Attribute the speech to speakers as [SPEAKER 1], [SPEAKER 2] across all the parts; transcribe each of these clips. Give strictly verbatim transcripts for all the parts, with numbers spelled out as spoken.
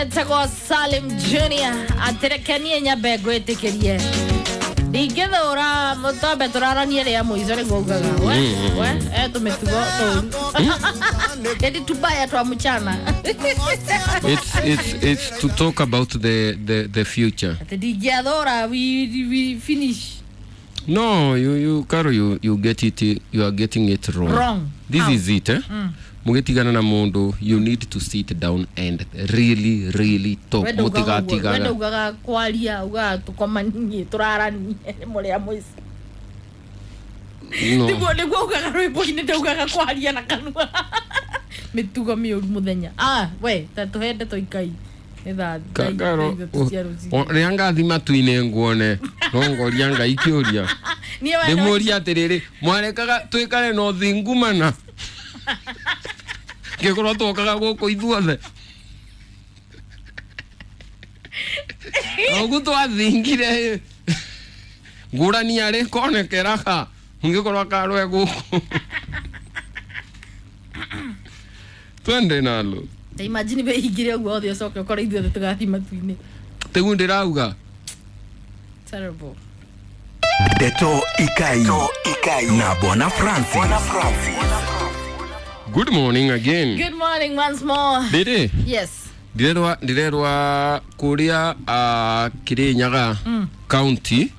[SPEAKER 1] Etagwo Salim Junior aterekenie nyambe ngwĩtĩkĩrie ndingĩthũra mũtombe tũraranie rĩa mũico nĩguo ugaga we we eh tũmĩtugo tũru ĩndi tubaya twa mchana.
[SPEAKER 2] It's it's it's to talk about the the the future.
[SPEAKER 1] Atĩ ndingĩathũra we, we finish.
[SPEAKER 2] No, you you Caro, you you get it, you are getting it wrong.
[SPEAKER 1] Wrong.
[SPEAKER 2] This
[SPEAKER 1] How?
[SPEAKER 2] is it, eh? Mm. Mugitigana na mundu, you need to sit down and really really talk.
[SPEAKER 1] Wenda ugaga ũguo, wenda
[SPEAKER 2] Mutigatigaga.
[SPEAKER 1] ugaga kwaria ugaga tũkomanie tũraranie mũrĩa mũico.
[SPEAKER 2] No.
[SPEAKER 1] Nĩguo nĩguo ugaga rwĩmbo-inĩ ndaugaga kwaria na kanua. Mĩtugo mĩũru mũthenya. Ah, we ta tũhe ndeto ikai. Nĩ thaa
[SPEAKER 2] Ka- Caro,
[SPEAKER 1] ithatũ cia rũcinĩ.
[SPEAKER 2] rĩrĩa ngathi matu-inĩ nguone no ngoria Ngai kĩũria.
[SPEAKER 1] Niĩ wenda
[SPEAKER 2] Ndĩmũrie atĩrĩrĩ, mwarekaga twĩkare na ũthingu mana ngĩkorwo twokaga gũkũ ithuothe na ũguo twathingire ngũrani arĩ konekeraga ngĩkorwo karwe gũkũ twende nalo.
[SPEAKER 1] Ta imagine wĩhingire ũguo othe ũcoke ũkore ithuothe tũgathiĩ matu-inĩ.
[SPEAKER 2] Tĩgu ndĩrauga.
[SPEAKER 1] Terrible.
[SPEAKER 3] Ndeto Ikai. Ikai na Bwana Francis. Bwana Francis.
[SPEAKER 2] Good morning again.
[SPEAKER 1] Good morning once more.
[SPEAKER 2] Ndĩrĩ
[SPEAKER 1] Yes.
[SPEAKER 2] ndirerwa ndirerwa kuria uh, Kirinyaga county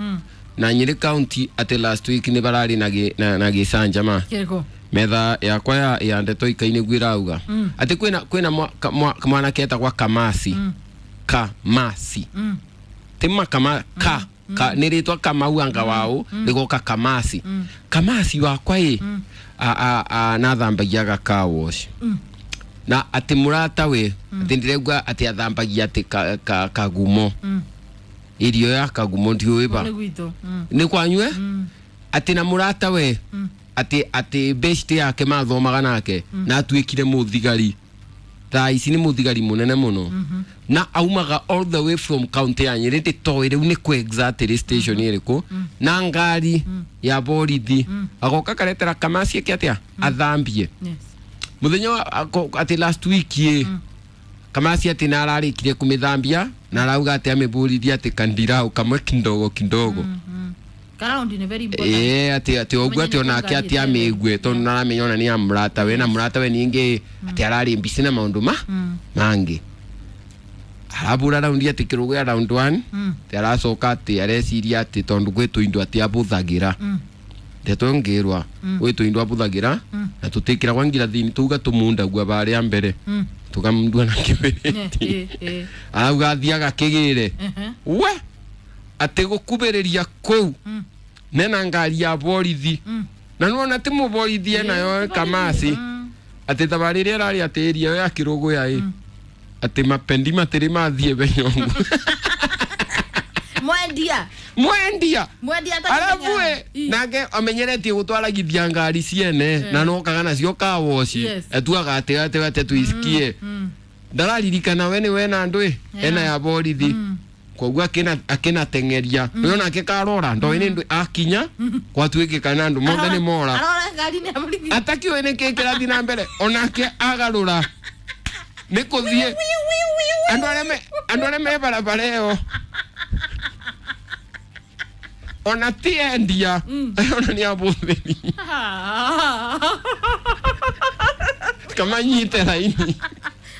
[SPEAKER 2] na Nyeri county ati last week ni barari na gi, na, na gicanjama
[SPEAKER 1] Kĩrĩkũ?
[SPEAKER 2] metha yakwa ya, ya ndeto ikai nĩguo ĩrauga ati kwĩna kwĩna mwa- ka- mwa- mwanake etagwa Kamasi. Kamasi ti makama ka ka nĩ rĩtwa Kamau anga wao rĩgoka Kamasi. Kamasi wakwa ĩ a a a nathambagia car wash na ati mũrata we ati ndĩraigua ati athambagia ati ka, ka, kagumo irio ya kagumo ndiũĩ ba
[SPEAKER 1] Nĩ gwitũ. Mm.
[SPEAKER 2] nĩ kwanyue ati na mũrata we ati ati best yake mathomaga nake na atuĩkire mũthigari thaa ici nĩ mũthigari mũnene mũno na aumaga all the way from county ya Nyeri ndĩtoĩ rĩu nĩ kũ exactly station ĩrĩkũ na ngari ya borithi agoka karetera Kamasi eke atĩa athambie
[SPEAKER 1] Yes.
[SPEAKER 2] muthenya wa ako- ati last week ĩ Kamasi ati na ararĩkirie kũmĩthambia na arauga atĩ amĩbũrithie atĩ kandirau kamwe kidogo kidogo.
[SPEAKER 1] Karaundi nĩ very important.
[SPEAKER 2] Ĩĩ atĩ atĩ ũguo atĩ onake atĩ amĩigue tondũ naramenya ona nĩ ya mũrata we na mũrata we ningĩ atĩ ararĩ mbici na maũndũ ma mangĩ arabura raundi atĩ kĩrũgũ ya round one atĩ aracoka atĩ areciria atĩ tondũ gwĩ tũindo atĩ abũthagĩra ndeto ngĩrwa gwĩ tũindo abũthagĩra na tũtĩkĩragwa ngirathini tuga tũmundagua barĩa mbere tũkamundua na kĩbĩrĩti
[SPEAKER 1] Eh, eh.
[SPEAKER 2] arauga athiaga kĩgĩre
[SPEAKER 1] Mhm.
[SPEAKER 2] we atĩ gũkubĩrĩria kũu nena ngari ya borithi na nĩwona ti mũborithi enayo Kamasi atĩ thabarĩ ĩrĩa ĩrarĩ atĩ ĩria ya kĩrũgũya ĩ atĩ mapendi matĩrĩ mathiĩ benyongu
[SPEAKER 1] Mwendia.
[SPEAKER 2] mwendia
[SPEAKER 1] Mwendia
[SPEAKER 2] arabu ĩ nake amenyeretie gũtwaragithia ngari ciene na nokaga nacio kawoci
[SPEAKER 1] Yes.
[SPEAKER 2] etuaga atĩ atĩ atĩ tuisikie ndararirikana we nĩ wena andũ ĩ ena ya borithi koguo akina akinatengeria mm. nake karora ndoĩ nĩ ndũ akinya gwatuĩkĩka na andũ mothe nĩ mora
[SPEAKER 1] Arora ngari nĩ ya borithi.
[SPEAKER 2] atakiũĩ nĩ kĩ kĩrathiĩ na mbere onake agarũra nĩ kũthiĩ andũ arĩa me andũ arĩa me barabara ĩyo ona ti endia ona nĩ abũthĩri kamanyite raini.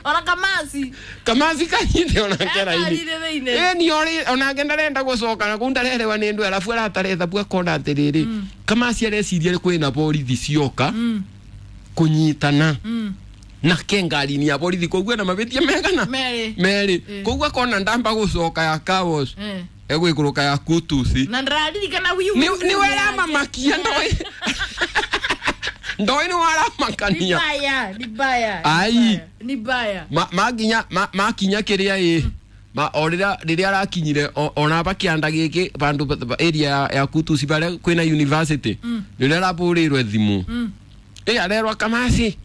[SPEAKER 1] Ona Kamasi.
[SPEAKER 2] Kamasi kanyite onake raini.
[SPEAKER 1] Ngari-inĩ thĩinĩ.
[SPEAKER 2] Ĩni ori onake ndarenda gũcoka na kũu ndarerewa nĩ ndũ arabu aratara ithabu akona atĩrĩrĩ Kamasi areciria kwĩna borithi cioka kũnyitana nake ngari-inĩ ya borithi koguo ena mabĩtia megana
[SPEAKER 1] Merĩ.
[SPEAKER 2] merĩ koguo akona ndamba gũcoka ya kawosh
[SPEAKER 1] Eh.
[SPEAKER 2] egwĩkũrũka ya kutusi
[SPEAKER 1] Na ndĩraririkana wiu.
[SPEAKER 2] nĩ weramakia ndoĩ ndoĩ nĩ waramakania.
[SPEAKER 1] Ni baya, ni baya.
[SPEAKER 2] Ai.
[SPEAKER 1] Ni baya.
[SPEAKER 2] Ma- makinya ma- makinya kĩrĩa ĩ ma o rĩrĩa rĩrĩa arakinyire o- ona ba kĩanda gĩkĩ bandũ ba- ba- area ya, ya kutusi barĩa kwĩna university rĩrĩa arabũrĩirwe thimũ ĩ arerwa Kamasi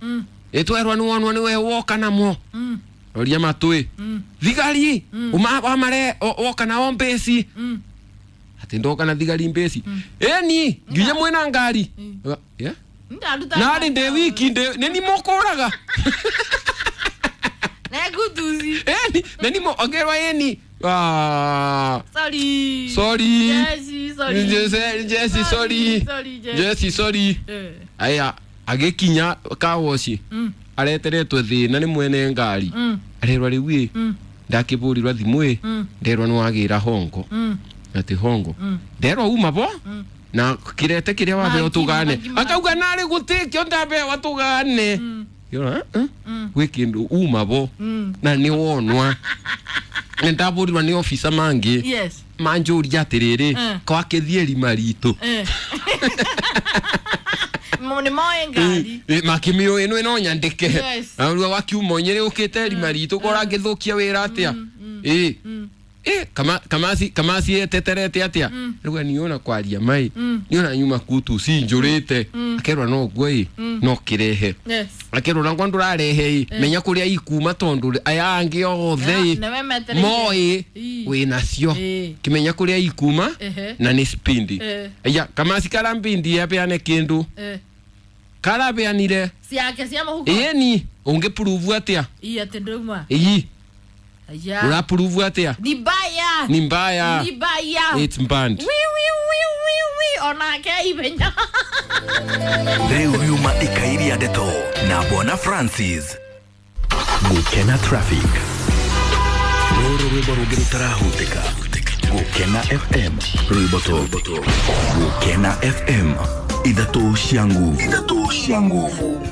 [SPEAKER 2] ĩtwerwa nĩwonwo nĩwe woka namo roria matũĩ thigari uma wamare o- woka nao mbĩci atĩ ndoka na thigari mbĩci ĩni nginya mwĩna ngari Yeah?
[SPEAKER 1] Ndaruta.
[SPEAKER 2] Narĩ ndĩ wiki ndĩ nĩ ni mũkũraga
[SPEAKER 1] Na kutusi.
[SPEAKER 2] Ĩni. Eni na nimo ongerwa eni. Ah,
[SPEAKER 1] Sorry.
[SPEAKER 2] sorry.
[SPEAKER 1] Jesse, sorry.
[SPEAKER 2] Jesse, Jesse, sorry.
[SPEAKER 1] Sorry, Jesse.
[SPEAKER 2] Jesse, sorry.
[SPEAKER 1] Eh.
[SPEAKER 2] Aya agikinya kawoci
[SPEAKER 1] Mm.
[SPEAKER 2] areteretwo thina ni mwene ngari
[SPEAKER 1] Mm.
[SPEAKER 2] arerwa riu ĩ
[SPEAKER 1] Mm.
[SPEAKER 2] ndakĩbũrirwa thimũ ĩ
[SPEAKER 1] Mm.
[SPEAKER 2] nderwa nĩ wagĩra hongo
[SPEAKER 1] Mm.
[SPEAKER 2] atĩ hongo
[SPEAKER 1] Mm.
[SPEAKER 2] nderwa uma bo
[SPEAKER 1] Mm.
[SPEAKER 2] na kirete kĩrĩa wabeo
[SPEAKER 1] Mangima,
[SPEAKER 2] tũgane
[SPEAKER 1] mangima.
[SPEAKER 2] akauga narĩ gũtĩkĩo ndabewa tũgane
[SPEAKER 1] Mm.
[SPEAKER 2] Yona, eh?
[SPEAKER 1] Mm.
[SPEAKER 2] gwĩ kĩndũ uma bo
[SPEAKER 1] Mm.
[SPEAKER 2] na nĩ wonwa nĩ ndabũrirwa nĩ officer mangĩ
[SPEAKER 1] Yes.
[SPEAKER 2] manjũria atĩrĩrĩ
[SPEAKER 1] Mm.
[SPEAKER 2] kwakĩthiĩ rima ritũ
[SPEAKER 1] Eh. Mo nĩ moĩ ngari.
[SPEAKER 2] makĩmĩũĩ ĩno ĩno nyandĩke
[SPEAKER 1] Yes.
[SPEAKER 2] rua wakiuma nyĩrĩ ũkĩte rima ritũ ko ũrangĩthũkia wĩra atĩa ĩ ĩ kama kamasi kamasi eteterete atĩa rĩu niona kwaria mai niona nyuma kutu cinjũrĩte akerwa no guo ĩ no kĩrehe
[SPEAKER 1] Yes.
[SPEAKER 2] akerwo nakwa ndũrarehe ĩ menya kũrĩa ikuma tondũ aya angĩ othe ĩ
[SPEAKER 1] Nĩwe metereire.
[SPEAKER 2] moĩ
[SPEAKER 1] Ĩ.
[SPEAKER 2] wĩnacio
[SPEAKER 1] Ĩ.
[SPEAKER 2] kimenya kũrĩa ikuma
[SPEAKER 1] Ehe.
[SPEAKER 2] na nĩ spindi
[SPEAKER 1] Eh.
[SPEAKER 2] aya kamasi karambindi apeane kĩndũ
[SPEAKER 1] Eh.
[SPEAKER 2] karabeanire
[SPEAKER 1] Ciake cia mũhuko.
[SPEAKER 2] ĩni ũngĩpuruvu atĩa
[SPEAKER 1] Ĩ atĩ ndũma.
[SPEAKER 2] ii
[SPEAKER 1] Aya.
[SPEAKER 2] ũrapuruvu atĩa
[SPEAKER 1] Ni mbaya.
[SPEAKER 2] ni mbaya
[SPEAKER 1] Ni mbaya.
[SPEAKER 2] it's banned
[SPEAKER 1] Wi wi wi wi wi onake ihenya.
[SPEAKER 3] Rĩu riuma ikairia ndeto na Bwana Francis. Gukena Traffic. Rũrũ rwĩmbo rũngĩ rũtarahutĩka. Gukena F M rwĩmbo tũ. Gukena F M ithatũ cia nguvu. Ithatũ cia nguvu.